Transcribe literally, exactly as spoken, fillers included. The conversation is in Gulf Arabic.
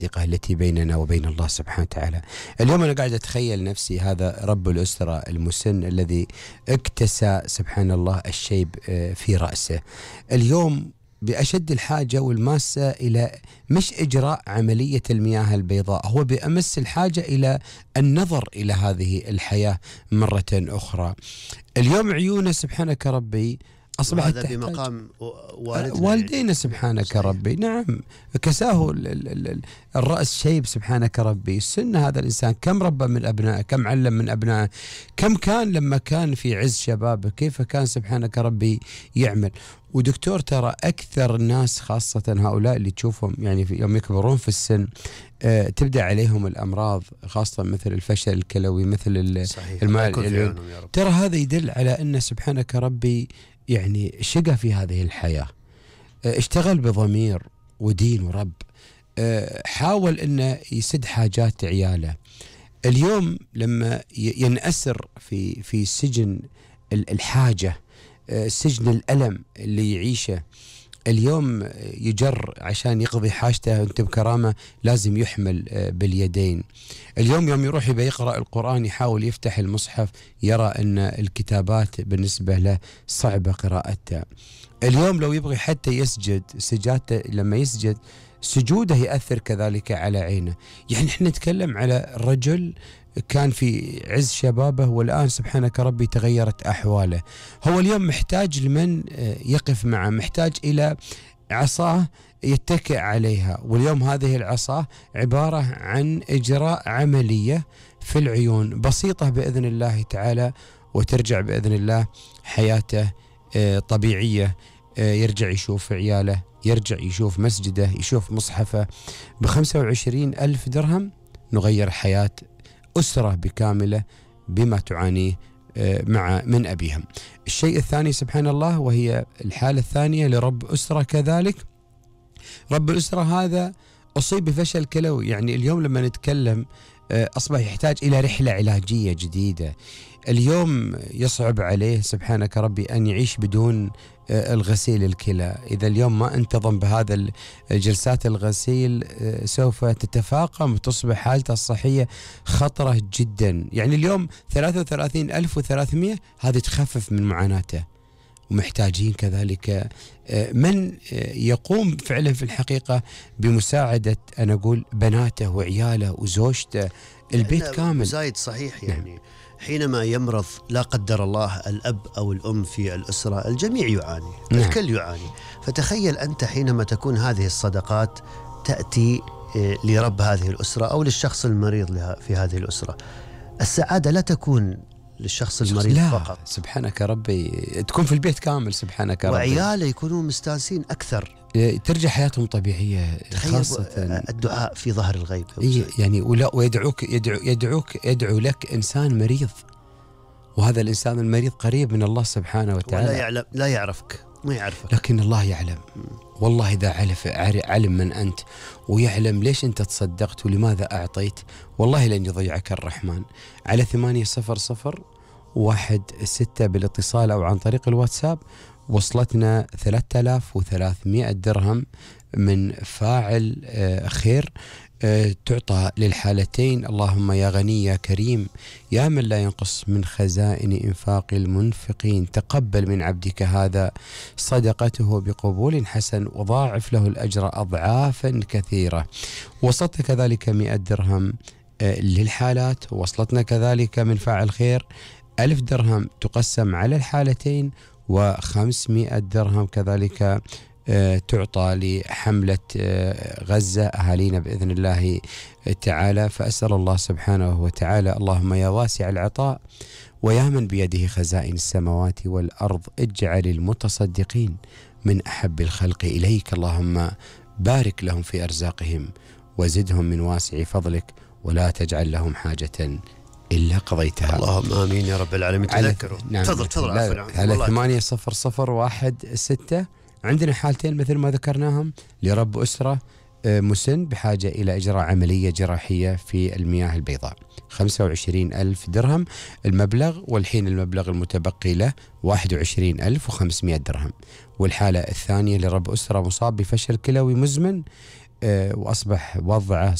الثقة التي بيننا وبين الله سبحانه وتعالى. اليوم أنا قاعد أتخيل نفسي هذا رب الأسرة المسن الذي اكتسى سبحان الله الشيب في رأسه، اليوم بأشد الحاجة والماسة إلى مش إجراء عملية المياه البيضاء، هو بأمس الحاجة إلى النظر إلى هذه الحياة مرة أخرى. اليوم عيونه سبحانك ربي أصبحت هذا بمقام والدنا والدينا يعني. سبحانك صحيح. ربي، نعم، كساه الرأس شيب سبحانك ربي. السن هذا الإنسان كم ربى من أبنائه، كم علم من أبنائه، كم كان لما كان في عز شبابه، كيف كان سبحانك ربي يعمل. ودكتور ترى أكثر الناس خاصة هؤلاء اللي تشوفهم يعني في يوم يكبرون في السن آه تبدأ عليهم الأمراض خاصة مثل الفشل الكلوي، مثل المال، ترى هذا يدل على أن سبحانك ربي يعني شقى في هذه الحياة، اشتغل بضمير ودين ورب، حاول أنه يسد حاجات عياله. اليوم لما ينأسر في في سجن الحاجة، سجن الألم اللي يعيشه، اليوم يجر عشان يقضي حاجته أنت بكرامة لازم يحمل باليدين. اليوم يوم يروح يبي يقرأ القرآن يحاول يفتح المصحف يرى أن الكتابات بالنسبة له صعبة قراءتها. اليوم لو يبغي حتى يسجد سجادته، لما يسجد سجوده يأثر كذلك على عينه. يعني احنا نتكلم على رجل كان في عز شبابه والآن سبحانك ربي تغيرت أحواله. هو اليوم محتاج لمن يقف معه، محتاج إلى عصاه يتكئ عليها. واليوم هذه العصا عبارة عن إجراء عملية في العيون بسيطة بإذن الله تعالى، وترجع بإذن الله حياته طبيعية، يرجع يشوف عياله، يرجع يشوف مسجده، يشوف مصحفه. بخمسة وعشرين ألف درهم نغير حياة أسرة بكاملة بما تعانيه مع من أبيهم. الشيء الثاني سبحان الله، وهي الحالة الثانية لرب أسرة كذلك. رب الأسرة هذا أصيب بفشل كلوي. يعني اليوم لما نتكلم أصبح يحتاج إلى رحلة علاجية جديدة. اليوم يصعب عليه سبحانك ربي أن يعيش بدون الغسيل الكلى. إذا اليوم ما انتظم بهذا الجلسات الغسيل سوف تتفاقم وتصبح حالته الصحية خطرة جدا. يعني اليوم ثلاثة وثلاثين ألف وثلاثمئة هذه تخفف من معاناته. ومحتاجين كذلك من يقوم فعلا في الحقيقة بمساعدة أنا أقول بناته وعياله وزوجته، البيت كامل. زايد صحيح. يعني حينما يمرض لا قدر الله الأب أو الأم في الأسرة الجميع يعاني، نعم. الكل يعاني. فتخيل أنت حينما تكون هذه الصدقات تأتي لرب هذه الأسرة أو للشخص المريض في هذه الأسرة، السعادة لا تكون للشخص المريض لا فقط، سبحانك ربي تكون في البيت كامل سبحانك ربي، وعياله يكونوا مستانسين أكثر، ترجع حياتهم طبيعية. خاصة الدعاء في ظهر الغيب يعني، ولا ويدعوك يدعو يدعوك يدعو لك إنسان مريض، وهذا الإنسان المريض قريب من الله سبحانه وتعالى، ولا يعلم، لا يعرفك، ما يعرفك، لكن الله يعلم. والله إذا عرف علم من أنت ويعلم ليش أنت تصدقت ولماذا أعطيت، والله لن يضيعك الرحمن. على ثمانية صفر صفر واحد ستة بالاتصال أو عن طريق الواتساب وصلتنا ثلاثة آلاف وثلاثمئة درهم من فاعل خير تعطى للحالتين. اللهم يا غني يا كريم يا من لا ينقص من خزائن إنفاق المنفقين، تقبل من عبدك هذا صدقته بقبول حسن وضاعف له الأجر أضعافا كثيرة. وصلت كذلك مئة درهم للحالات. وصلتنا كذلك من فاعل خير ألف درهم تقسم على الحالتين، وخمسمائة درهم كذلك تعطى لحملة غزة أهالينا بإذن الله تعالى. فأسأل الله سبحانه وتعالى اللهم يا واسع العطاء ويا من بيده خزائن السماوات والأرض اجعل المتصدقين من أحب الخلق إليك. اللهم بارك لهم في أرزاقهم وزدهم من واسع فضلك ولا تجعل لهم حاجة إلا قضيتها. اللهم آمين يا رب العالمين. تذكروا. نعم. تفضل تفضل. على ثمانية صفر صفر واحد ستة عندنا حالتين مثل ما ذكرناهم لرب أسرة مسن بحاجة إلى إجراء عملية جراحية في المياه البيضاء. خمسة وعشرين ألف درهم المبلغ، والحين المبلغ المتبقي له واحد وعشرين ألف وخمسمائة درهم. والحالة الثانية لرب أسرة مصاب بفشل كلوي مزمن وأصبح وضعه